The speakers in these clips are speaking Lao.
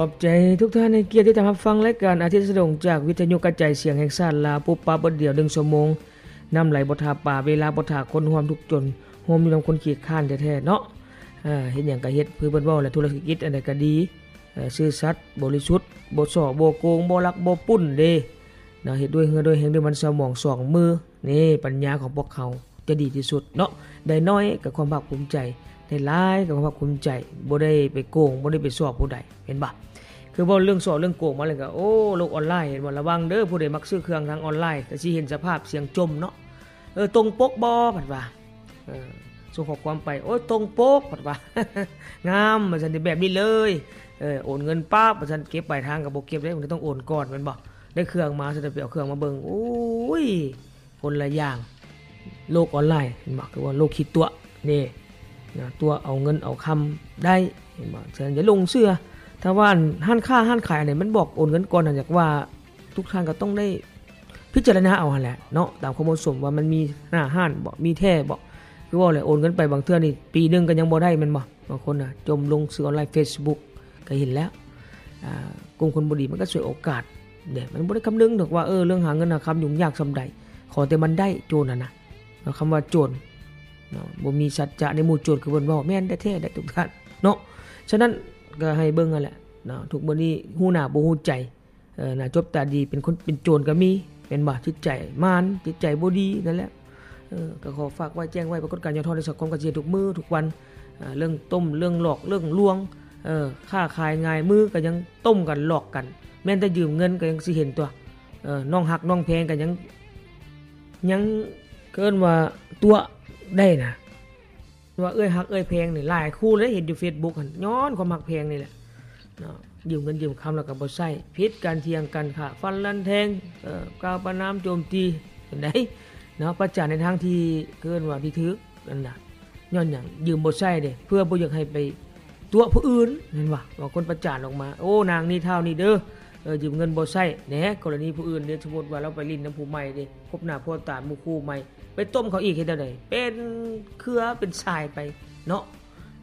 ຂອບໃຈທຸກທ່ານໃຫ້ກຽດຕິດຕາມຮັບຟັງລາຍການອາທິດສະດົງ ຈາກວິທະຍຸກະຈາຍສຽງແຫ່ງຊາດລາວ. ປຸບປັບເບິດດຽວ ໜຶ່ງຊົ່ວໂມງ, ນຳໄຫຼບໍ່ຖ້າປາ, ເວລາບໍ່ຖ້າຄົນ, ຮ່ວມທຸກຈົນ, ຮ່ວມຢູ່ນຳຄົນຂີ້ຄ້ານແທ້ໆເນາະ. ເຮັດຫຍັງກະເຮັດ ຄືເພິ່ນເວົ້າແຫຼະ, ທຸລະກິດອັນໃດກະດີ, ຊື່ສັດ, ບໍລິສຸດ, ບໍ່ສໍ້ບໍ່ໂກງ, ບໍ່ລັກບໍ່ປຸ້ນເດ້ເນາະ, ເຮັດດ້ວຍເຫື່ອດ້ວຍແຮງ, ດ້ວຍມັນສະໝອງສອງມື. ນີ້ປັນຍາຂອງພວກເຮົາຈະດີທີ່ສຸດເນາະ. ໄດ້ໜ້ອຍກໍຄວາມພາກພູມໃຈ, ໄດ້ຫຼາຍກໍຄວາມພາກພູມໃຈ, ບໍ່ໄດ້ໄປໂກງ, ບໍ່ໄດ້ໄປສໍ້ຜູ້ໃດ, ເຫັນບໍ່? ຄືເວົ້າເລື່ອງສໍ້ເລື່ອງໂກງມາແລ້ວກໍ ໂອ້ ໂລກອອນລາຍ, ເຫັນບໍ່? ລະວັງເດີ, ຜູ້ໃດມັກຊື້ເຄື່ອງທາງອອນລາຍ ກໍຊິເຫັນສະພາບສຽງຈົ່ມເນາະ. ເອີ ຕົງປົກບໍ່? ເພິ່ນວ່າ ເອີ ສົ່ງຂໍ້ຄວາມໄປ ໂອ້ຍ ຕົງປົກ ເພິ່ນວ່າ ງາມ ວ່າຊັ້ນ, ແບບນີ້ເລີຍ. ເອີ ໂອນເງິນປາບ ວ່າຊັ້ນ, ເກັບປາຍທາງກໍບໍ່ເກັບເດ້, ມັນຕ້ອງໂອນກ່ອນ ແມ່ນບໍ່? ໄດ້ເຄື່ອງມາ ຊັ້ນໄປເອົາເຄື່ອງມາເບິ່ງ ໂອ້ຍ ຄົນລະຢ່າງ. ໂລກອອນລາຍ ເຫັນບໍ່? ຄືວ່າໂລກຂີ້ຕົວະເດ້ເນາະ, ຕົວະເອົາເງິນເອົາຄຳໄດ້ ເຫັນບໍ່? ສະນັ້ນຢ່າຫຼົງເຊື່ອ. ຖ້າວ່າຮ້ານຄ້າຮ້ານຂາຍອັນໃດມັນບອກໂອນເງິນກ່ອນຫັ້ນ, ຢາກວ່າທຸກທ່ານກໍຕ້ອງໄດ້ພິຈາລະນາເອົາຫັ້ນແຫຼະເນາະ, ຕາມຄວາມເໝາະສົມວ່າມັນມີໜ້າຮ້ານບໍ່, ມີແທ້ບໍ່. ຄືເວົ້າແຫຼະ ໂອນເງິນໄປບາງເທື່ອນີ້ປີໜຶ່ງກໍຍັງບໍ່ໄດ້ ແມ່ນບໍ່? ບາງຄົນນະ ຈົ່ມລົງສື່ອອນລາຍ ເຟສບຸກ ກໍເຫັນແລ້ວ. ອາ ກຸ່ມຄົນບໍ່ດີມັນກໍສວຍໂອກາດເດ້, ມັນບໍ່ໄດ້ຄຳນຶງດອກວ່າ ເອີ ເລື່ອງຫາເງິນຫາຄຳຫຍຸ້ງຍາກສ່ຳໃດ, ຂໍແຕ່ມັນໄດ້. ໂຈນຫັ້ນນະ ຄຳວ່າໂຈນເນາະ ບໍ່ມີສັດຈະໃນໝູ່ໂຈນ ຄືເພິ່ນເວົ້າ ແມ່ນແທ້ໆໄດ໋ທຸກທ່ານເນາະ. ສະນັ້ນກໍໃຫ້ເບິ່ງຫັ້ນແຫຼະເນາະ, ທຸກມື້ນີ້ຮູ້ໜ້າບໍ່ຮູ້ໃຈ. ເອີ ໜ້າຈົບຕາດີ ເປັນຄົນເປັນໂຈນກໍມີ ແມ່ນບໍ່? ຈິດໃຈມານ ຈິດໃຈບໍ່ດີ ນັ້ນແຫຼະ. ເອີ ກໍຂໍຝາກໄວ້ແຈ້ງໄວ້ ປາກົດການຫຍໍ້ທໍ້ໃນສັງຄົມກໍຊິເຫັນທຸກມື້ທຸກວັນ. ເອີ ເລື່ອງຕົ້ມ ເລື່ອງຫຼອກ ເລື່ອງລວງ, ເອີ ຄ້າຂາຍຫງາຍມືກໍຍັງຕົ້ມກັນ ຫຼອກກັນ, ແມ່ນແຕ່ຢືມເງິນກໍຍັງຊິເຫັນຕົວະ. ເອີ ນ້ອງຮັກນ້ອງແພງກໍຍັງ ຍັງເອີ້ນວ່າຕົວະໄດ້ນະ. ວ່າເອື້ອຍຮັກເອື້ອຍແພງນີ້ ຫຼາຍຄູ່ເລີຍ ເຫັນຢູ່ເຟສບຸກຫັ້ນ ຍ້ອນຄວາມຮັກແພງນີ້ແຫຼະເນາະ, ຢືມເງິນຢືມຄຳແລ້ວກໍບໍ່ໃຊ້, ຜິດກັນ ຖຽງກັນ, ຂ້າຟັນລັນແທງ, ເອີ ກ່າວປະນາມໂຈມຕີ ເຫັນໃດເນາະ, ປະຈານໃນທາງທີ່ເອີ້ນວ່າທີ່ຖືກນັ້ນນະ. ຍ້ອນຫຍັງ? ຢືມບໍ່ໃຊ້ເດ້ ເພື່ອບໍ່ຢາກໃຫ້ໄປຕົວະຜູ້ອື່ນ ແມ່ນບໍ່? ບາງຄົນປະຈານອອກມາ ໂອ້ ນາງນີ້ທ້າວນີ້ເດີ ເອີ ຢືມເງິນບໍ່ໃຊ້ແດ່. ກໍລະນີຜູ້ອື່ນເດ້ ສົມມຸດວ່າລາວໄປຫຼິ້ນນຳຜູ້ໃໝ່ເດ້ ພົບໜ້າພົບຕາໝູ່ຄູ່ໃໝ່ ໄປຕົ້ມເຂົາອີກ ເຮັດແນວໃດ? ເປັນເຄືອເປັນສາຍໄປເນາະ.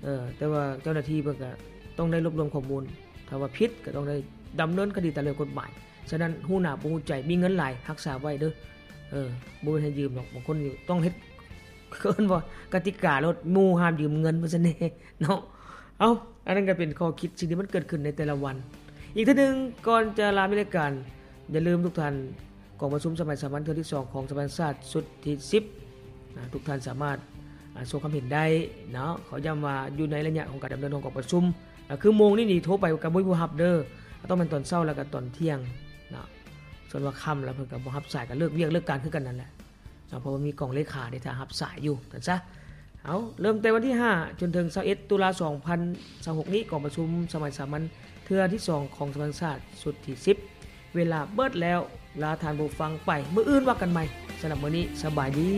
ເອີ ແຕ່ວ່າເຈົ້າໜ້າທີ່ເພິ່ນກະຕ້ອງໄດ້ລວບລວມຂໍ້ມູນ, ຖ້າວ່າຜິດກໍຕ້ອງໄດ້ດຳເນີນຄະດີຕາມເລື່ອງກົດໝາຍ. ສະນັ້ນ ຮູ້ໜ້າບໍ່ຮູ້ໃຈ, ມີເງິນຫຼາຍຮັກສາໄວ້ເດີ. ເອີ ບໍ່ແມ່ນໃຫ້ຢືມດອກ, ບາງຄົນນີ້ຕ້ອງເຮັດ ເອີ້ນວ່າກະຕິກາໂລດ, ໝູ່ຫ້າມຢືມເງິນ ວ່າຊັ້ນເດເນາະ. ເອົ້າ ອັນນັ້ນກໍເປັນຂໍ້ຄິດ ສິ່ງທີ່ມັນເກີດຂຶ້ນໃນແຕ່ລະວັນ. ອີກເທື່ອໜຶ່ງ ກ່ອນຈະລາມີລາຍການ, ຢ່າລືມທຸກທ່ານ ກອງປະຊຸມສະໄໝສາມັນເທື່ອທີສອງຂອງສະພາແຫ່ງຊາດຊຸດທີສິບ ນະ, ທຸກທ່ານສາມາດ ອາ ສົ່ງຄຳເຫັນໄດ້ເນາະ. ຂໍຢ້ຳວ່າຢູ່ໃນໄລຍະຂອງການດຳເນີນຂອງກອງປະຊຸມ ອາ ຄືໂມງນີ້ນີ້ໂທໄປກໍບໍ່ມີຜູ້ຮັບເດີ, ຕ້ອງແມ່ນຕອນເຊົ້າແລ້ວກໍຕອນທ່ຽງເນາະ. ສ່ວນວ່າຄ່ຳແລ້ວເພິ່ນກໍບໍ່ຮັບສາຍ, ກໍເລີກວຽກເລີກການຄືກັນນັ້ນແຫຼະເນາະ, ເພາະວ່າມີກອງເລຂາເດ້ຖ້າຮັບສາຍຢູ່ ຊັ້ນຊະ. ເອົາ ເລີ່ມແຕ່ວັນທີຫ້າຈົນເຖິງຊາວເອັດຕຸລາສອງພັນຊາວຫົກນີ້ ກອງປະຊຸມສະໄໝສາມັນເທື່ອທີສອງຂອງສະພາແຫ່ງຊາດຊຸດທີສິບ ເວລາເບິດແລ້ວ ລາທ່ານຜູ້ຟັງໄປ, ມື້ອື່ນວ່າກັນໃໝ່. ສຳລັບມື້ນີ້ ສະບາຍດີ.